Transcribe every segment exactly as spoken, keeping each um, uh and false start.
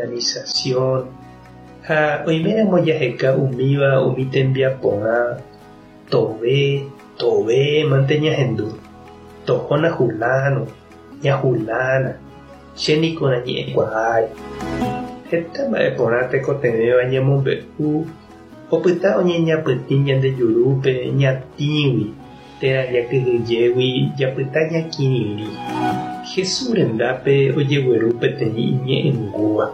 organización ha oiméramo jaheka umíva umi tembiaporã tove tove mante ñahendu tohóna huláno ña hulána chéniko nañe'ẽkuaái heta mba'e porã tekotevẽva ñamombe'u opyta oñeñapytĩ ñande jurúpe ñatĩgui térã jakyhyjégui japyta ñakirirĩ. Jesús rendápe ojegueru peteĩ iñe'ẽngúva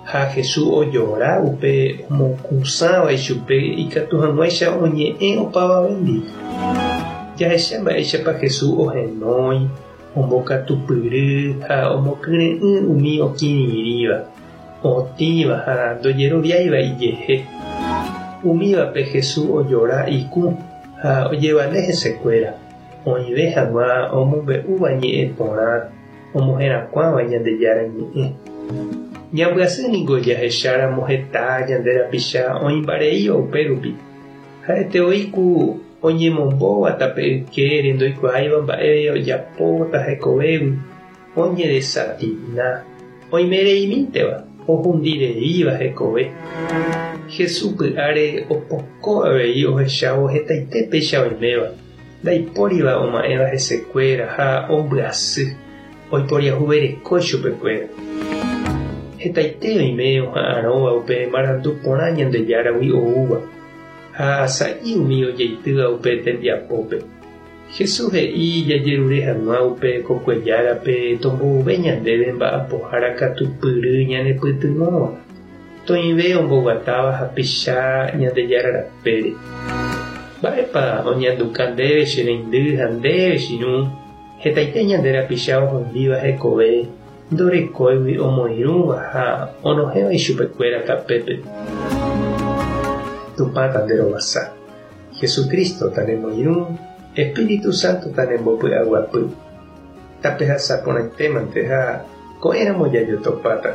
ha Jesús ojora upe omokũsãva ichupe ikatu hag̃uáicha oñe'ẽ opavavéndi. Jahecha mba'éichapa Jesús ohenói ombokatupyry ha omokyre'ỹ umi okirirĩva otĩva ha ndojeroviáiva ijehe. Umívape Jesús ojora ikũ ha ojevale hesekuéra oĩve hag̃ua omombe'úva ñe'ẽ porã omoherakuãva Ñandejára ñe'ẽ. Ñambyasy niko jahecháramo heta ñande rapicha oĩmbareíva upérupi ha'ete voi ku oñemombóva tape ykére ndoikuaáiva mba'e ojapóta hekovégui oñedesatina oimereimínteva ohundireíva hekove. Jesús py'áre opoko avei ohechávo hetaite péicha oiméva ndaipóriva oma'ẽva hesekuéra ha ombyasy oiporiahuvereko chupekuéra. Hetaite oime oha'arõva upe marandu porã Ñandejáragui oúva ha sa'i umi ojeitýva upe tembiapópe. Jesús he'i jajerure hag̃ua upe kokuejárape tombouve ñandéve mba'apohára katupyry ñanepytyvõva toĩve omboguatáva hapicha Ñandejára rapére. Mba'épa oñanduka ndéve che reindy ha ndéve che irũ hetaite ñande rapicha ohundíva hekove ndorekóigui omoirũva ha onohẽva ichupekuéra tapépe. Tupã tanderovasa. Jesucristo tanemoirũ, Espíritu Santo tanembopy'aguapy. Tapehasa porãitémante ha ko'ẽramo jajotopáta.